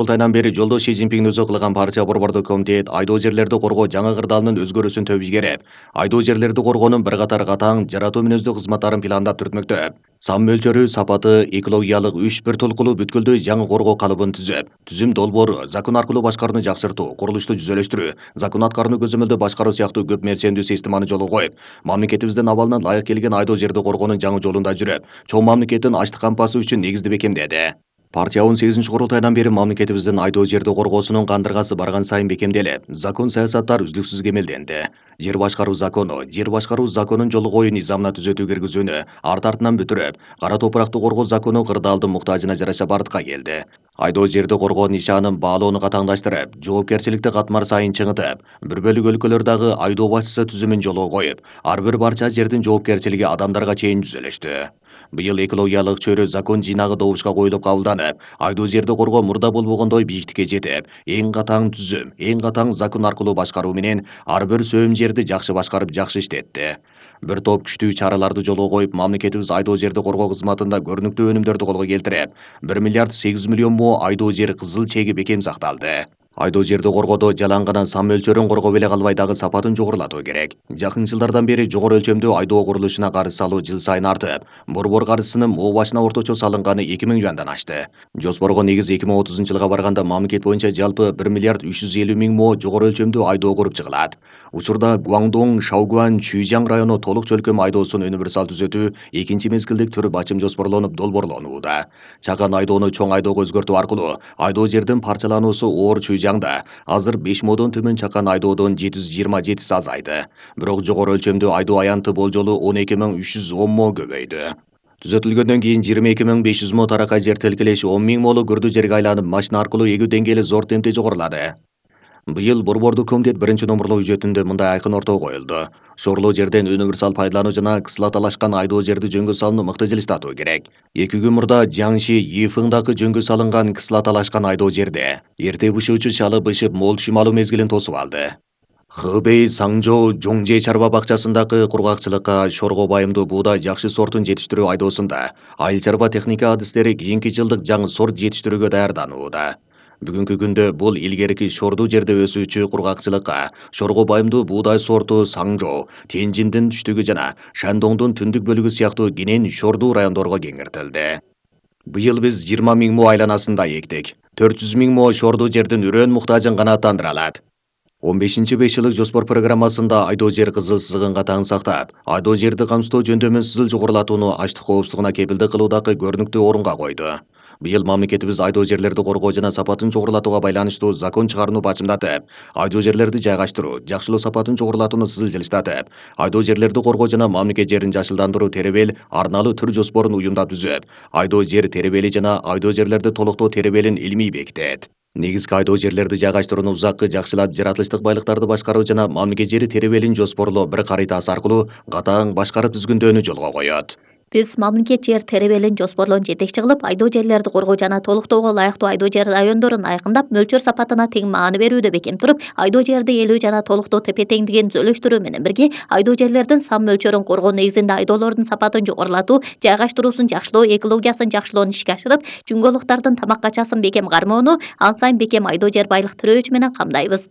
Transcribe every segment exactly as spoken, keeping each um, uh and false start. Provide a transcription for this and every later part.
Курултайдан бери жолдош Си Цзиньпин өзү кылган партия борбордук комитет айдоо жерлерди коргоо жаңы кырдаалынын өзгөрүүсүн төп ийгереп, айдоо жерлерди коргоонун бир катар катаң жаратуу мүнөздүү кызматтарын пландап түртмөктө. Сан мөлчөрү, сапаты, экологиялык үч бир толкулуу бүткүлдүү жаңы коргоо калыбын түзүп, түзүм долбоору, закон аркылуу башкарууну жакшыртуу, курулушту жүзөлөштүрүү, закон аткарууну көзөмөлдөө башкаруу сыяктуу көп мерсемдүү системаны жолго коюп, мамлекетибиздин абалына ылайык келген айдоо жерди коргоонун жаңы жолунда жүрүп, чоң мамлекеттин ачлык кампасы үчүн негизди бекемдеди. Партия он сегизинчи курултайдан бери мамлекетибиздин айдоо жерди коргоосунун кандыргасы барган сайын бекемделип, закон саясаттар үздүксүз кемелденди. Жер башкаруу закону, жер башкаруу законун жолу коюу низамына түзөтүү киргизүүнү арты артынан бүтүрүп, кара топуракты коргоо закону кырдаалдын муктажына жараша бардыкка келди. Айдоо жерди коргоо нишанын баалоону катаңдаштырып, жоопкерчиликти катмар сайын чыңытып, бир бөлүк өлкөлөрдөгү айдоо башчысы түзүмүн жолго коюп, ар бир барча жердин жоопкерчилиги адамдарга чейин түзөлүштү. Быйыл экологиялык чөйрө закон жыйнагы добушка коюлуп кабылданып, айдоо жерди коргоо мурда болбогондой бийиктикке жетип, эң катаң түзүм, эң катаң закон аркылуу башкаруу менен ар бир сөөм жерди жакшы башкарып, жакшы иштетти. Бир топ күчтүү чараларды жолго коюп, мамлекетибиз айдоо жерди коргоо кызматында көрүнүктүү өнүмдөрдү колго келтирип, бир миллиард сегиз жүз миллион мо айдоо жер кызыл чеги бекем сакталды. Айдоо жерди коргоодо жалаң сан мөлчөрүн коргоо эле калбай дагы сапатын жогорулатуу керек. Жакын жылдардан бери жогору өлчөмдүү айдоо курулушуна карыз салуу жыл сайын артып, борбор карызынын мо башына орточо салынганы эки миң юандан ашты. Жоспорго негиз эки миң отузунчу жылга барганда мамлекет боюнча жалпы бир миллиард үч жүз элүү миң мо жогору өлчөмдүү айдоо куруп чыгылат. Учурда Гуандong, Шаогуан, Чүйжаң району толук чөлкөм айдоосун универсал түзөтүү экинчи мезгилдик түрү бачым жоспорлонуп долбоорлонууда. Чакан айдоону чоң айдоого өзгөртүү аркылуу айдоо жердин парчалануусу оор Чүйжаңда азыр беш модон төмөн чакан айдоодон жети жүз жыйырма жетиси азайды. Бирок жогору өлчөмдүү айдоо аянты болжолу он эки миң үч жүз он мо көбөйдү. Түзөтүлгөндөн кийин жыйырма эки миң беш жүз мо таракай жер тилкелеши он миң молу күрдүү жерге айланып, машина аркылуу эгүү деңгээли зор темпте жогорулады. Быйыл борбордук комитет биринчи номурлуу үжөтүндө мындай айкын ортого коюлду. Шорлоо жерден универсал пайдалануу жана кыслаталашкан айдоо жерди жөнгө салууну мыкты жылыштатуу керек. Эки күн мурда Жаңши, Йифыңдагы жөнгө салынган кыслаталашкан айдоо жерде эрте бышуучу шалы бышып мол түшүм алуу мезгилин тосуп алды. Хэбэй, Саңжоо, Жоңже чарба бакчасындагы кургакчылыкка шорго байымдуу буудай жакшы сортун жетиштирүү айдоосунда айыл чарба техника адистери кийинки жылдык жаңы сорт жетиштирүүгө даярданууда. Бүгүнкү күндө бул илгерки шордуу жерде өсүүчү кургакчылыкка шорго байымдуу буудай сорту Саңжоо, Тенжиндин түштүгү жана Шандоңдун түндүк бөлүгү сыяктуу кенен шордуу райондорго кеңиртилди. Быйыл биз жыйырма миң мо айланасында эктик. төрт жүз миң мо шордуу жердин үрөөн муктажын канааттандыра алат. он бешинчи беш жылдык жоспор программасында айдоо жер кызыл сызыгын катаң сактап, айдоо жерди камсыздоо жөндөмүн сызыл жогорулатууну ачлык коопсуздугуна кепилдик кылуудагы көрүнүктүү орунга койду. Быйыл мамлекетибиз айдоо жерлерди коргоо жана сапатын жогорулатууга байланыштуу закон чыгарууну бачымдатып, айдоо жерлерди жайгаштыруу, жакшылоо сапатын жогорулатууну сызыл жылыштатып, айдоо жерлерди коргоо жана мамлекет жерин жашылдандыруу теребел арналуу түр жоспорун уюмдап түзүп, айдоо жер теребели жана айдоо жерлерди толуктоо теребелин илмий бекитет. Негизги айдоо жерлерди жайгаштырууну узаккы жакшылап, жаратылыштык байлыктарды башкаруу жана мамлекет жери теребелин жоспорлоо бир карытасы аркылуу катаң башкарып түзгүндөөнү жолго коет. Биз мамлекет жер теребелин жоспорлоон жетекчи кылып, айдоо жерлерди коргоо жана толуктоого ылайыктуу айдоо жер райондорун айкындап, мөлчөр сапатына тең маани берүүдө бекем туруп, айдоо жерди элүү жана толуктоо тепе-теңдигин түзөлүштүрүү менен бирге айдоо жерлердин сан мөлчөрүн коргоо негизинде айдоолордун сапатын жогорулатуу, жайгаштыруусун жакшылоо, экологиясын жакшылоону ишке ашырып, жүнгөлуктардын тамак качасын бекем кармоону, ан сайын бекем айдоо жер байлык тирөөчү менен камдайбыз.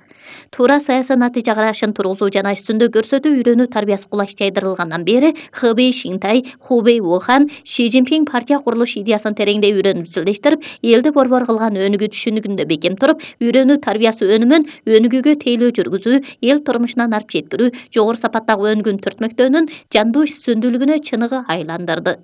Туура саясий натыйжа карашын тургузуу жана үстүндө көрсөтүү үйрөнүү тарбиясы кулаш жайдырылгандан бери Хэбэй, Шинтай, Хубэй, Ухан Си Цзиньпин партия курулуш идеясын тереңдей үйрөнүп изилдештирип, элди борбор кылган өнүгүү түшүнүгүндө бекем туруп, үйрөнүү тарбиясы өнүмүн өнүгүүгө тейлөө жүргүзүү, эл турмушунан алып жеткирүү, жогору сапаттагы өнүгүүнү түртмөктөөнүн жандуу үстүндүүлүгүнө чыныгы айландырды.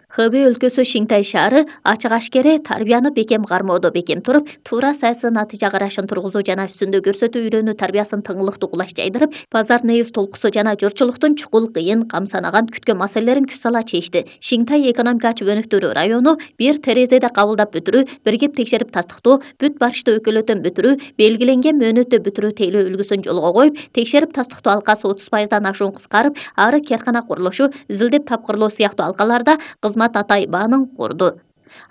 Хэбэй өлкөсү Шинтай шаары ачык ашкере тарбияны бекем кармоодо бекем туруп, туура саясий натыйжа карашын тургузуу жана үстүндө көрсөтүү үйрөнүү тарбиясын тыңылыктуу кулаш жайдырып, базар негиз толкусу жана журтчулуктун чукул, кыйын, камсанаган күткөн маселелерин күч сала чечти. Шинтай экономика ачып өнүктүрүү району бир терезеде кабылдап бүтүрүү, биригип текшерип тастыктоо, бүт барышты өкөлөтөн бүтүрүү, белгиленген мөөнөттө бүтүрүү тейлөө үлгүсүн жолго коюп, текшерип тастыктоо алкасы отуз пайыздан ашуун кыскарып, ары керкана курулушу, изилдеп тапкырлоо сыяктуу алкаларда кызмат атай баанын курду.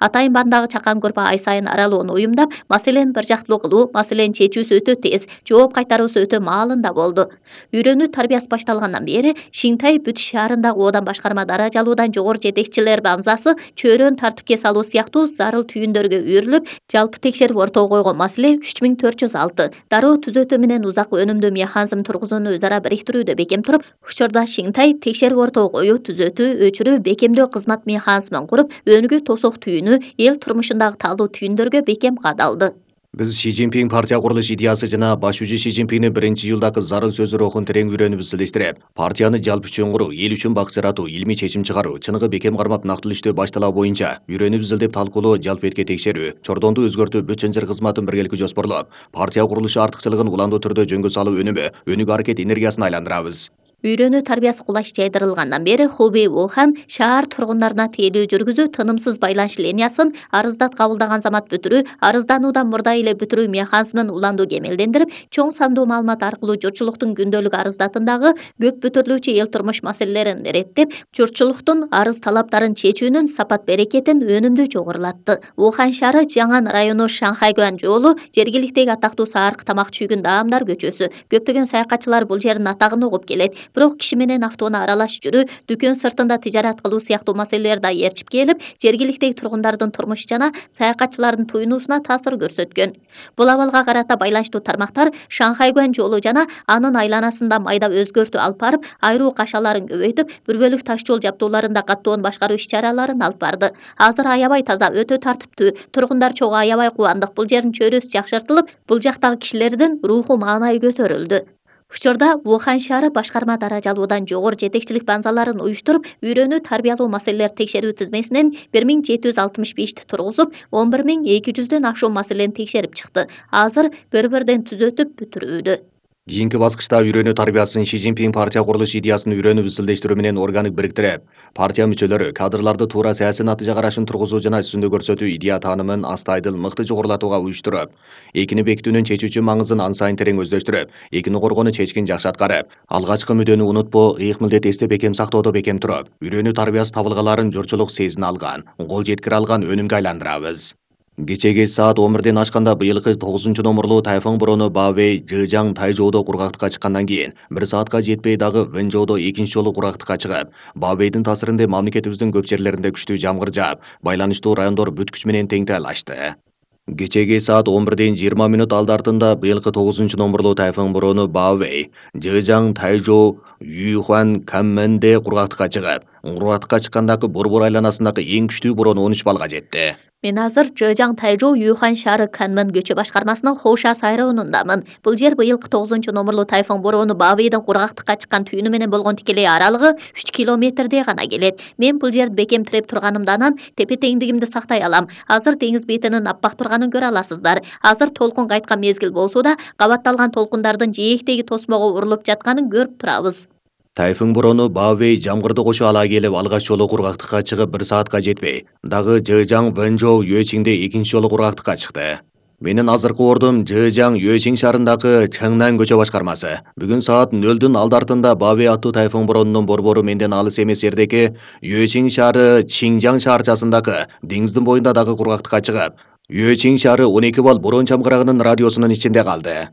Атайын бандагы чакан көрпө ай сайын аралоону уюмдап, маселени бир жактылуу кылуу, маселенин чечүүсү өтө тез, жооп кайтаруусу өтө маалында болду. Үйрөнүү тарбиясы башталгандан бери Шинтай бүт шаарындагы оодан башкарма даражалуудан жогору жетекчилер баңзасы чөйрөнү тартипке салуу сыяктуу зарыл түйүндөргө үйрүлүп, жалпы текшерип ортого койгон маселе үч миң төрт жүз алты. Дароо түзөтүү менен узак өнүмдүү механизм тургузууну өз ара бириктирүүдө бекем туруп, учурда Шинтай текшерип ортого коюу, түзөтүү, өчүрүү, бекемдөө кызмат механизмин куруп, өнүгүү тосок түйүнү, эл турмушундагы таалуу түйүндөргө бекем кадалды. Биз Ши Цзиньпин партия курулуш идеясы жана башчы Ши Цзиньпиндин биринчи июлдагы зарыл сөзү рухун терең үйрөнүп изилештирип, партияны жалпы үчүн куруу, эл үчүн бак жаратуу, илмий чечим чыгаруу, чыныгы бекем кармап нактылуу иштөө башталаа боюнча үйрөнүп изилдеп талкуулоо, жалпы этке текшерүү, чордонду өзгөртүү, бүт чынжыр кызматын биргеликте жоспорлоп, партия курулушу артыкчылыгын уландуу түрдө жөнгө салуу өнүмү, өнүгүү аракет энергиясына айландырабыз. Үйрөнүү тарбиясы кулаш жайдырылгандан бери Хубей Ухан шаар тургундарына тейлөө жүргүзүү, тынымсыз байланыш линиясын арыздат кабылдаган замат бүтүрүү, арыздануудан мурда эле бүтүрүү механизмин уландуу кемелдендирип, чоң сандуу маалымат аркылуу журтчулуктун күндөлүк арыздатындагы көп бүтүрүлүүчү эл турмуш маселелерин иреттеп, журтчулуктун арыз талаптарын чечүүнүн сапат берекетин өнүмдүү жогорулатты. Ухан шаары Жаңан району Шанхайгуан жолу жергиликтеги атактуу саарык тамак чүйгүн даамдар көчөсү. Көптөгөн саякатчылар бул жердин атагын угуп келет. Бирок киши менен автоунаа аралаш жүрүү, дүкөн сыртында тижарат кылуу сыяктуу маселелер да ээрчип келип, жергиликтеги тургундардын турмушу жана саякатчылардын туюнуусуна таасир көрсөткөн. Бул абалга карата байланыштуу тармактар Шанхайгуан жолу жана анын айланасында майда өзгөртүү алып барып, айруу кашаларын көбөйтүп, бир бөлүк таш жол жабдууларында каттоон башкаруу иш-чараларын алып барды. Азыр аябай таза, өтө тартиптүү, тургундар чогуу аябай кубандык. Бул жердин чөйрөсү жакшыртылып, бул жактагы кишилердин руху маанайы көтөрүлдү. Учурда Ухан шаары башкарма даражалуудан жогору жетекчилик баңзаларын уюштуруп, үйрөнүү тарбиялоо маселелер текшерүү тизмесинен бир миң жети жүз алтымыш бешти тургузуп, он бир миң эки жүздөн ашуун маселени текшерип чыкты. Азыр бір-бірден түзөтүп бүтүрүүдө. Кийинки баскычта үйрөнүү тарбиясын Ши Цзиньпин партия курулуш идеясын үйрөнүп изилдештирүү менен органик бириктирип, партия мүчөлөрү кадрларды туура саясий натыйжа карашын тургузуу жана үстүндө көрсөтүү идея таанымын астайдыл мыкты жогорулатууга уюштуруп, экини бекитүүнүн чечүүчү маңызын ан сайын терең өздөштүрүп, экини коргоону чечкин жакшы аткарып, алгачкы мүдөнү унутпоо, ыйык милдет эсте бекем сактоодо бекем туруп, үйрөнүү тарбиясы табылгаларын журтчулук сезине алган, кол жеткире алган өнүмгө айландырабыз. Кечеги саат он бирден ашканда быйылкы тогузунчу номурлуу тайфун бороону Баобэй Жыжаң Тайжоодо кургактыкка чыккандан кийин бир саатка жетпей дагы Вэнжоодо экинчи жолу кургактыкка чыгып, Баобэйдин таасиринде мамлекетибиздин көп жерлеринде күчтүү жамгыр жаап, байланыштуу райондор бүт күч менен тең таялашты. Кечеги саат он бирден жыйырма мүнөт алды артында быйылкы тогузунчу номурлуу тайфун бороону Баобэй Жыжаң Тайжоо Юйхуан Камменде кургактыкка чыгып, кургактыкка чыккандагы борбор айланасындагы эң күчтүү бороо он үч баллга жетти. Мен азыр Жыжаң Тайжоо Юйхан шаары Канмен көчө башкармасынын Хоуша сайрауынындамын. Бул жер быйылкы тогузунчу номурлуу тайфун бороону Баобэйдин кургактыкка чыккан түйүнү менен болгон тикелей аралыгы үч километрдей гана келет. Мен бул жерди бекем тиреп турганымдан анан тепе-теңдигимди сактай алам. Азыр деңиз бетинин аппак турганын көрө аласыздар. Азыр толкун кайткан мезгил болсо да, кабатталган толкундардын жээктеги тосмого урулуп жатканын көрүп турабыз. Тайфун бороону Баобэй жамгырды кошо ала келип, алгач жолу кургактыкка чыгып бир саатка жетпей, дагы Жыжаң Вэнжоу Юэчиңде экинчи жолу кургактыкка чыкты. Менин азыркы ордум Жыжаң Юэчиң шаарындагы Чаңнан көчө башкармасы. Бүгүн саат нөлдүн алды артында Баобэй аттуу тайфун бороонунун борбору менден алыс эмес жердеги Юэчиң шаары Чинжаң шаарчасындагы деңиздин боюнда дагы кургактыкка чыгып, Юэчиң шаары он эки балл бороон жамгырагынын радиусунун ичинде калды.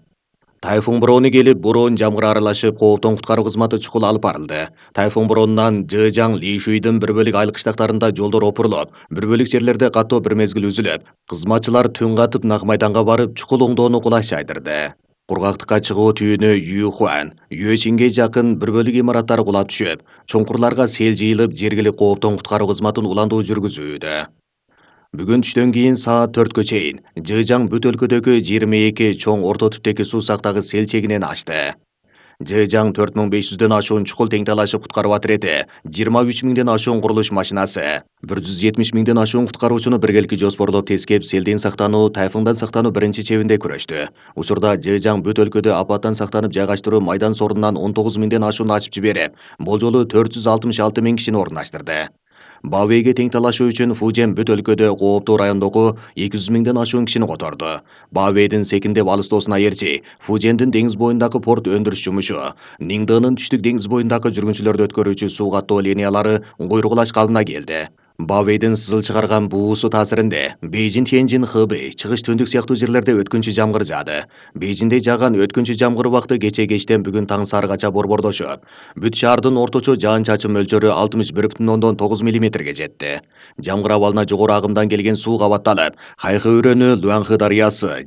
Тайфун бороону келип, бороон жамгыр аралашып, кооптон куткаруу кызматы чукул алып барылды. Тайфун бороонунан Жыжаң Лишуйдун бир бөлүк айыл кыштактарында жолдор опурулуп, бир бөлүк жерлерде каттоо бир мезгил үзүлүп, кызматчылар түн катып нак майданга барып, чукул оңдоону кулаш жайдырды. Кургактыкка чыгуу түйүнү Юйхуан, Юэчиңге жакын бир бөлүк имараттары кулап түшүп, чуңкурларга сел жыйылып, жергиликтүү кооптон куткаруу кызматын уландуу жүргүзүүдө. Бүгүн түштөн кийин саат төрткө чейин Жыжаң бүт өлкөдөгү жыйырма эки чоң орто типтеги суу сактагы сел чегинен ашты. Жыжаң төрт миң беш жүздөн ашуун чукул тең талашып куткаруу отирети, жыйырма үч миңден ашуун курулуш машинасы, бир жүз жетимиш миңден ашуун куткаруучуну биргеликте жоспорлоп тескеп, селден сактануу, тайфундан сактануу биринчи чебинде күрөштү. Учурда Жыжаң бүт өлкөдө апаттан сактанып жайгаштыруу майдан сорунунан он тогуз миңден ашуун ачып жиберип, бул жолу төрт жүз алтымыш алты миң кишини орундаштырды. Баобэйге тең талашуу үчүн Фужен бүт өлкөдө кооптуу райондогу эки жүз миңден ашуун кишини которду. Баобэйдин секиндеп алыстоосуна ээрчи, Фужендин деңиз боюндагы порт өндүрүш жумушу, Ниңдынын түштүк деңиз боюндагы жүргүнчүлөрдү өткөрүүчү суу каттоо линиялары куйругулаш калдына келди. Бавейдин сызыл чыгарган буусу таасиринде Бейжин, Тяньжин, Хэбэй, Чыгыш Түндүк сыяктуу жерлерде өткүнчү жамгыр жаады. Бейжинде жааган өткүнчү жамгыр убакыты кече кечтен бүгүн таң саарыгача борбордошуп, бүт шаардын орточо жаан-чачын мөлчөрү алтымыш бир бүтүн ондон тогуз миллиметрге жетти. Жамгыр абалына жогору агымдан келген суу кабатталып, Хайхы өрөөнү, Люанхэ дарыясы,